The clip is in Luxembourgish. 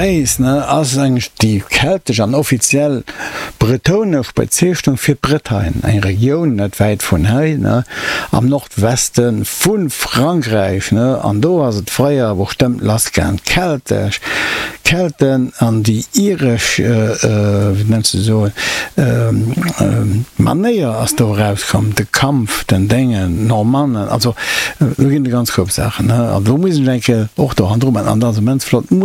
Breizh, ne, ass eigentlech déi keltesch an offiziell bretonesch Bezeechnung fir d'Bretagne, eng Regioun net wäit vun hei, ne, am Nordweste vu Frankräich, ne. An do ass et fréier bestëmmt lassgaang, d'keltesch Kelten an déi iresch, wéi nenns de soen, Manéier ass do erauskomm, de Kampf, den Déngen, d'Normannen, also do ginn et e ganz Koup Saachen, ne. An do muss een eng Kéier och do hannendru man. An dat ass immens flott.